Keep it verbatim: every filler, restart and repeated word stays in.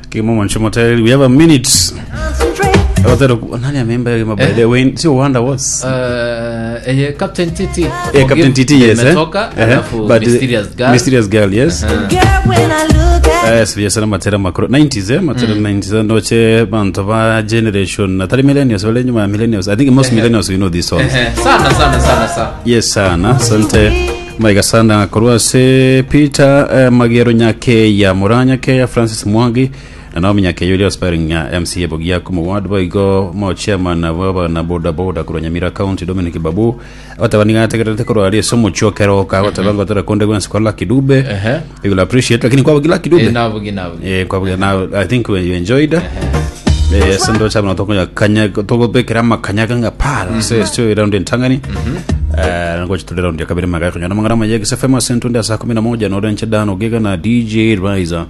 Kimo mwancho motel, we have a minute. Otero nani ameimba hiyo by the way, sio Wonder was. Uh, eh, Captain T T. Eh, Captain T T, yes, eh. Imetoka, Eh, alafu but, eh, Mysterious Girl. Mysterious Girl, yes. Yes, yes, matera makro nineties, eh, matera nineties ndoche bantu ba generation atari millennials, wale nyuma ya millennials. I think most millennials, you know these songs. Eh, sana sana sana sana. Yes, sana, asante maiga sana korwase Peter, eh, Magero Nyakeya, Muranya Keya, Francis Mwangi na Naomi Nyakeya uri aspiring ya M C A Bogia kuma ward boigo mo chairman wa na boda boda kurwa Nyamira County Dominic Babu atabani gategerete korwa ari somo chokero ka gotaba ngotera konde gwensi kwa Lucky Dube. Ehe. You will appreciate, lakini kwa Lucky Dube. Eh, navugi navugi. Eh, kwa now I think when you enjoyed, eh, sendo chama tokonya kanya tokobekera makanyaga nga pala se sio round entangani, eh, ngoja tuli round ya kabiri magari kunyana mangara majegi sefema sentunde saa kumi na moja na orenche dano giga na D J Riser.